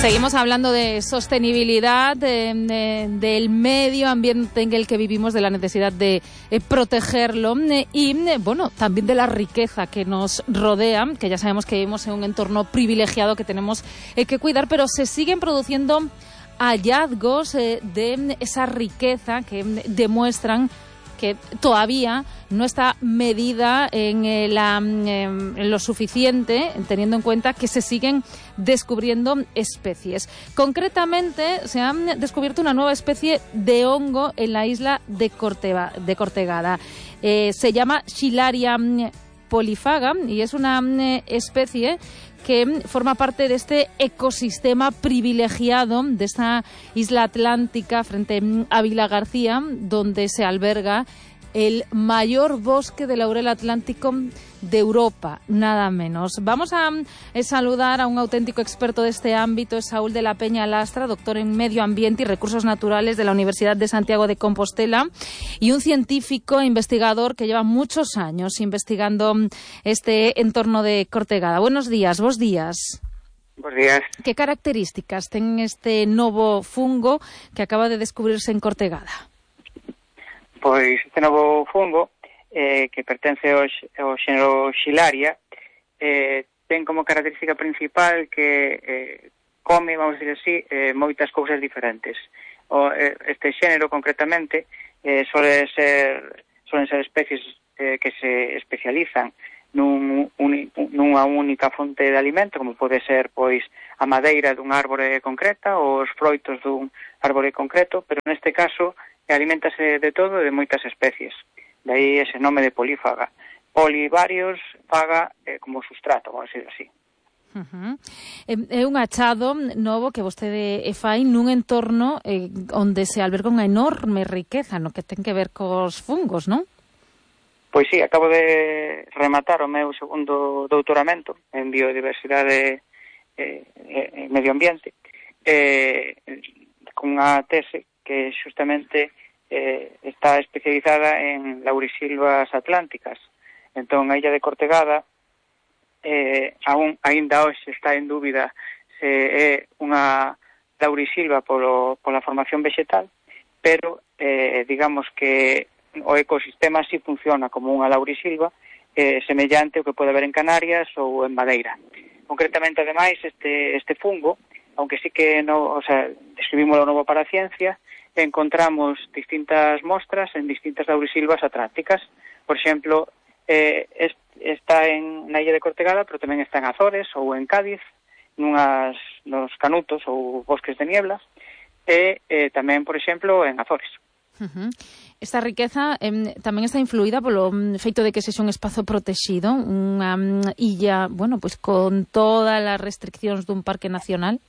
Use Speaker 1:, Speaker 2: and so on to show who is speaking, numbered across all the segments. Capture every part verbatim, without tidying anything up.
Speaker 1: Seguimos hablando de sostenibilidad, de, de, del medio ambiente en el que vivimos, de la necesidad de eh, protegerlo eh, y, eh, bueno, también de la riqueza que nos rodea, que ya sabemos que vivimos en un entorno privilegiado que tenemos eh, que cuidar, pero se siguen produciendo hallazgos eh, de esa riqueza que demuestran que todavía no está medida en, eh, la, en lo suficiente, teniendo en cuenta que se siguen descubriendo especies. Concretamente, se ha descubierto una nueva especie de hongo en la isla de, Corteva, de Cortegada. Eh, se llama Schilaria polyphaga y es una especie que forma parte de este ecosistema privilegiado de esta isla atlántica frente a Vilagarcía, donde se alberga el mayor bosque de laurel atlántico de Europa, nada menos. Vamos a eh, saludar a un auténtico experto de este ámbito, es Saúl de la Peña Lastra, doctor en Medio Ambiente y Recursos Naturales de la Universidad de Santiago de Compostela y un científico e investigador que lleva muchos años investigando este entorno de Cortegada. Buenos días, vos días.
Speaker 2: Buenos días.
Speaker 1: ¿Qué características tiene este novo fungo que acaba de descubrirse en Cortegada?
Speaker 2: Pois este novo fungo, eh, que pertence ao, ao xénero Schilaria, eh, ten como característica principal que eh, come, vamos a decir así, eh, moitas cousas diferentes. O, eh, este xénero, concretamente, eh, suele ser, suelen ser especies eh, que se especializan nun, uni, nunha única fonte de alimento, como pode ser, pois, a madeira dun árbore concreta ou os froitos dun árbore concreto, pero neste caso aliméntase de todo e de moitas especies. De aí ese nome de polífaga. Poli varios, faga eh, como sustrato, vamos a decir así.
Speaker 1: Uh-huh. É un achado novo que vostede fai nun entorno eh, onde se alberga unha enorme riqueza no que ten que ver cos fungos, non?
Speaker 2: Pois sí, acabo de rematar o meu segundo doutoramento en biodiversidade e eh, eh, medio ambiente eh, con unha tese que justamente eh, está especializada en laurisilvas atlánticas. Entón, a illa de Cortegada eh, aún aínda hoxe está en dúbida se é unha laurisilva polo, pola formación vegetal, pero eh, digamos que o ecosistema sí funciona como unha laurisilva eh, semellante ao que pode haber en Canarias ou en Madeira. Concretamente, ademais, este, este fungo, aunque sí que no, o sea, describímoslo novo para a ciencia, encontramos distintas mostras en distintas laurisilvas atlánticas. Por exemplo, eh, es, está en na illa de Cortegada, pero tamén está en Azores ou en Cádiz, nunhas, nos canutos ou bosques de niebla, e eh, tamén, por exemplo, en Azores.
Speaker 1: Uh-huh. Esta riqueza eh, tamén está influída polo feito de que sexa un espazo protegido, unha um, illa, bueno, pues con todas as restriccións dun parque nacional.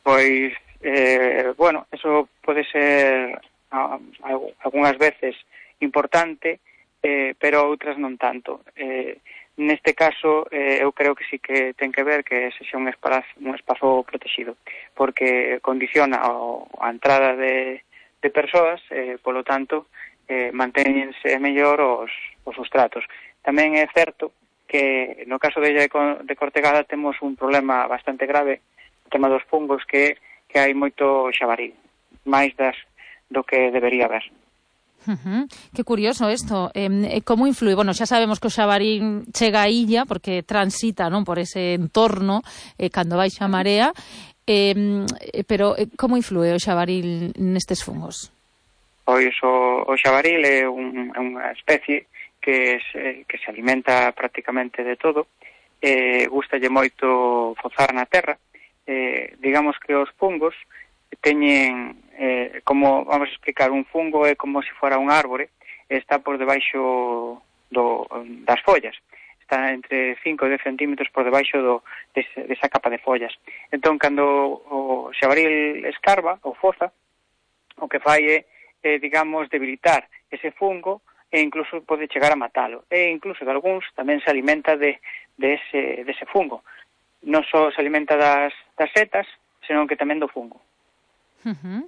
Speaker 2: Pois Eh, bueno, eso pode ser a, a, algunhas veces importante, eh, pero outras non tanto. Eh, neste caso, eh, eu creo que sí que ten que ver que sexa un espazo, un espazo protegido, porque condiciona o, a entrada de, de persoas, eh, polo tanto, eh, mantéñense mellor os, os sustratos. Tamén é certo que no caso de illa de Cortegada temos un problema bastante grave, o tema dos fungos, que que hai moito xabaril, máis das do que debería haber.
Speaker 1: Uh-huh. Que curioso isto. Eh, como influi? Bueno, xa sabemos que o xabaril chega a illa porque transita, non, por ese entorno eh, cando baixa a marea, eh, pero eh, como influi o xabaril nestes fungos?
Speaker 2: Pois o, o xabaril é un, unha especie que se, que se alimenta prácticamente de todo, eh, gustalle moito fozar na terra. Eh, digamos que os fungos teñen, eh, como, vamos a explicar, un fungo é como se fora un árbore, está por debaixo do, das follas, está entre cinco e dez centímetros por debaixo do, desa, desa capa de follas. Entón, cando o xabaril escarba ou foza, o que fai é, eh, digamos, debilitar ese fungo e incluso pode chegar a matalo. E incluso de algúns tamén se alimenta de, de, ese, de ese fungo. Non só se alimenta das, das setas, senón que tamén do fungo.
Speaker 1: Uh-huh.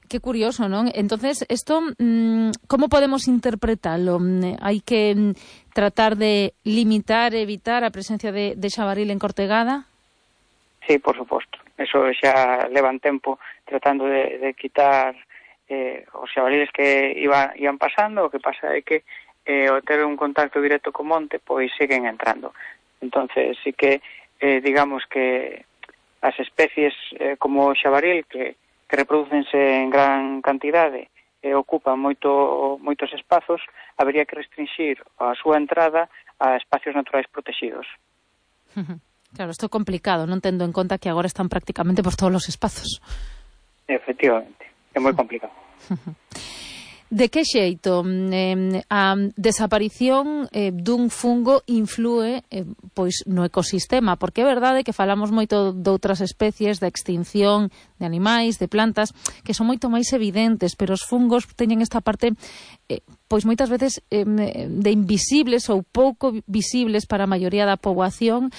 Speaker 1: Que curioso, non? Entonces, isto, mmm, como podemos interpretarlo? Hai que tratar de limitar, evitar a presencia de, de xabaril en Cortegada?
Speaker 2: Sí, por suposto. Eso xa levan tempo tratando de, de quitar eh, os xabaliles que iba, iban pasando. O que pasa é que eh, ao ter un contacto directo co monte, pois siguen entrando. Entonces, sí que, eh, digamos que as especies eh, como o xabaril, que, que reproducense en gran cantidade e eh, ocupan moito, moitos espazos, habería que restringir a súa entrada a espacios naturais protegidos.
Speaker 1: Claro, isto é complicado, non tendo en conta que agora están prácticamente por todos os espazos.
Speaker 2: Efectivamente, é moi complicado.
Speaker 1: De que xeito eh, a desaparición eh, dun fungo influe eh, pois no ecosistema? Porque é verdade que falamos moito de outras especies, da extinción de animais, de plantas, que son moito máis evidentes, pero os fungos teñen esta parte eh, pois moitas veces eh, de invisibles ou pouco visibles para a maioría da poboación.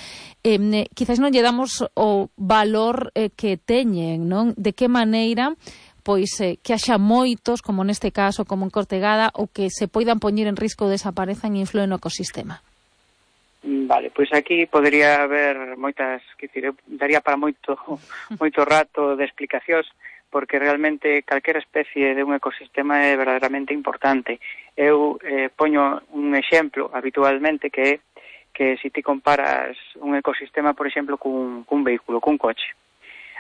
Speaker 1: Eh, quizás non lle damos o valor eh, que teñen, non? De que maneira pois eh, que haxa moitos, como neste caso, como en Cortegada, ou que se poidan poñer en risco de desaparezan e influen no ecosistema?
Speaker 2: Vale, pois aquí podería haber moitas, que dicir, daría para moito moito rato de explicacións, porque realmente calquera especie de un ecosistema é verdadeiramente importante. Eu eh, poño un exemplo habitualmente que é que se ti comparas un ecosistema, por exemplo, cun, cun vehículo, cun coche.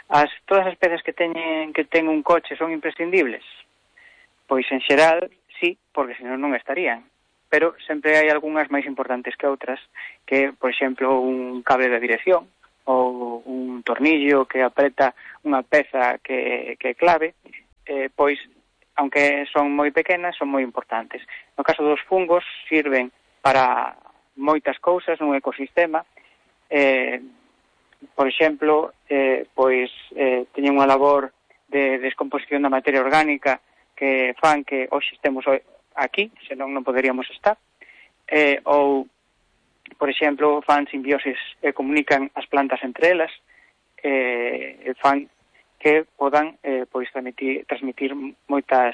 Speaker 2: As, todas as especies que teñen que ten un coche son imprescindibles? Pois en xeral, sí, porque senón non estarían. Pero sempre hai algunhas máis importantes que outras, que, por exemplo, un cable de dirección ou un tornillo que apreta unha peza que, que é clave, eh, pois, aunque son moi pequenas, son moi importantes. No caso dos fungos, sirven para moitas cousas nun ecosistema. eh, Por exemplo, eh, pois eh, teñen unha labor de descomposición da materia orgánica que fan que hoxe estemos aquí, senón non poderíamos estar. Eh, ou, por exemplo, fan simbioses e comunican as plantas entre elas, eh, e fan que podan eh, pois transmitir, transmitir moitas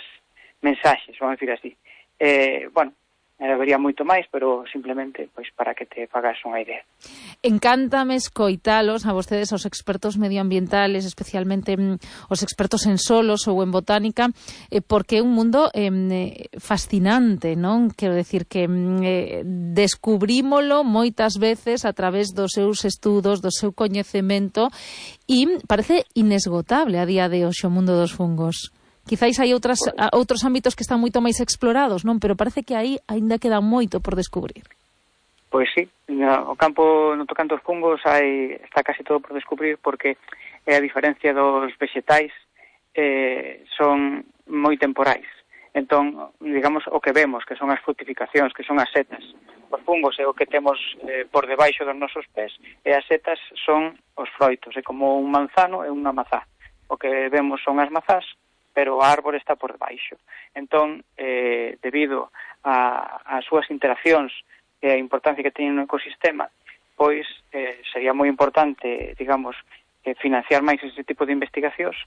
Speaker 2: mensaxes, vamos a decir así. Eh, bueno, habería moito máis, pero simplemente pois para que te fagas unha idea.
Speaker 1: Encántame escoitalos a vostedes, os expertos medioambientales, especialmente mm, os expertos en solos ou en botánica, eh, porque é un mundo eh, fascinante, non? Quero decir que mm, eh, descubrímolo moitas veces a través dos seus estudos, do seu coñecemento, e parece inesgotable a día de hoxe o mundo dos fungos. Quizáis hai outras, a, outros ámbitos que están moito máis explorados, non? Pero parece que aí aínda queda moito por descubrir.
Speaker 2: Pois sí, no, o campo no tocante aos fungos hai, está casi todo por descubrir, porque eh, a diferencia dos vegetais eh, son moi temporais. Entón, digamos, o que vemos, que son as frutificacións, que son as setas. Os fungos é o que temos eh, por debaixo dos nosos pés, e as setas son os froitos, é como un manzano e unha mazá. O que vemos son as mazás, pero a árbore está por debaixo. Entón, eh, debido a, a súas interaccións e a importancia que teñen no ecosistema, pois eh, sería moi importante, digamos, eh, financiar máis ese tipo de investigacións,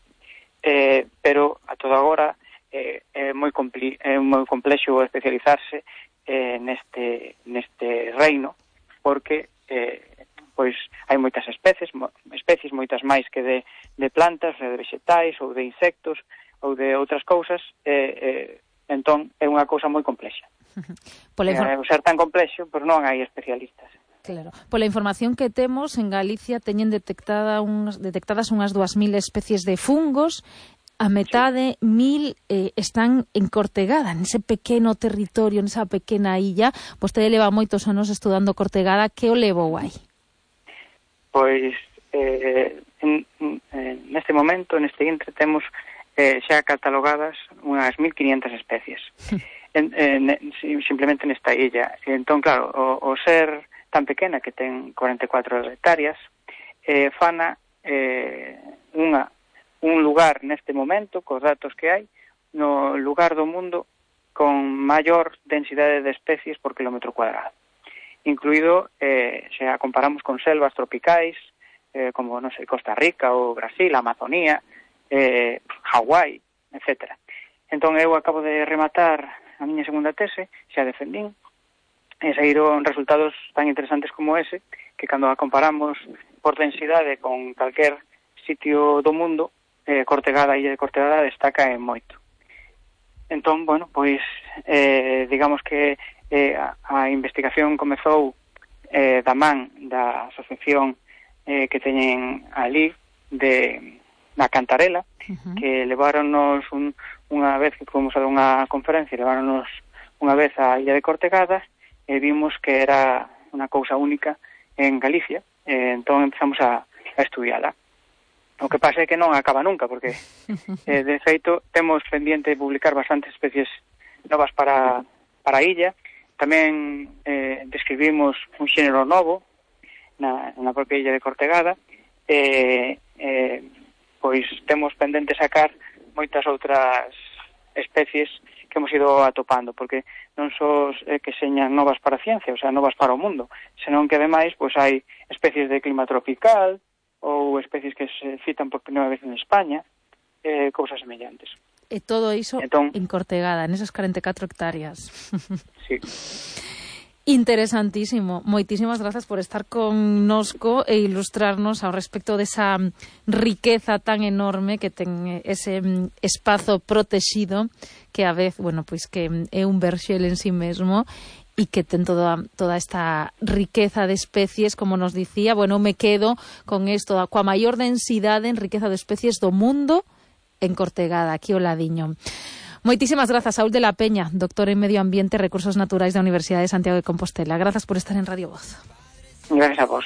Speaker 2: eh, pero a todo agora eh, é moi compli- é moi complexo especializarse eh, neste neste reino, porque eh, pois hai moitas especies, mo, especies moitas máis que de, de plantas, de vegetais ou de insectos ou de outras cousas, eh, eh, entón é unha cousa moi complexa. Pola infor- eh, ser tan complexo, pois non hai especialistas.
Speaker 1: Claro. Pola información que temos, en Galicia teñen detectada unhas, detectadas unhas dúas mil especies de fungos, a metade, sí. mil eh, están en Cortegada, nese pequeno territorio, nesa pequena illa. Vostede leva moitos anos estudando Cortegada, que o levou aí?
Speaker 2: Pois, eh, en, en, neste momento, neste intre, temos eh, xa catalogadas unhas mil quinientas especies. En, en, simplemente nesta illa. Entón, claro, o, o ser tan pequena, que ten cuarenta e catro hectáreas, eh, fana eh, unha, un lugar neste momento, cos datos que hai, no lugar do mundo con maior densidade de especies por kilómetro cuadrado. Incluído, eh, se a comparamos con selvas tropicais, eh, como, non sei, Costa Rica ou Brasil, Amazonía, eh, Hawái, etcétera. Entón, eu acabo de rematar a miña segunda tese, xa defendín, e saíron resultados tan interesantes como ese, que cando a comparamos por densidade con calquer sitio do mundo, eh, Cortegada, a illa de Cortegada destaca en moito. Entón, bueno, pois eh, digamos que eh, a, a investigación comezou eh, da man da asociación eh, que teñen ali de na Cantarela, uh-huh. que leváronos un, unha vez que fomos a unha conferencia, leváronos unha vez á illa de Cortegada e vimos que era unha cousa única en Galicia, e entón empezamos a, a estudiala. O que pasa é que non acaba nunca, porque eh, de feito temos pendiente de publicar bastantes especies novas para, para a illa. Tamén eh, describimos un xénero novo na, na propia illa de Cortegada, e eh, pois temos pendente sacar moitas outras especies que hemos ido atopando, porque non só é que señan novas para a ciencia, o sea, novas para o mundo, senón que ademais pois hai especies de clima tropical ou especies que se citan por primeira vez en España, eh, cousas semellantes.
Speaker 1: E todo iso entón, en Cortegada, en esas cuarenta e catro hectáreas.
Speaker 2: Sí.
Speaker 1: Interesantísimo. Moitísimas grazas por estar connosco e ilustrarnos ao respecto desa riqueza tan enorme que ten ese espazo protegido que a vez, bueno, pois que é un verxel en sí mesmo e que ten toda, toda esta riqueza de especies, como nos dicía. Bueno, me quedo con isto, coa maior densidade en riqueza de especies do mundo en Cortegada, aquí ao ladiño. Moitísimas grazas, Saúl de la Peña, doctor en Medio Ambiente e Recursos Naturais da Universidade de Santiago de Compostela. Grazas por estar en Radio Voz.
Speaker 2: Gracias a vos.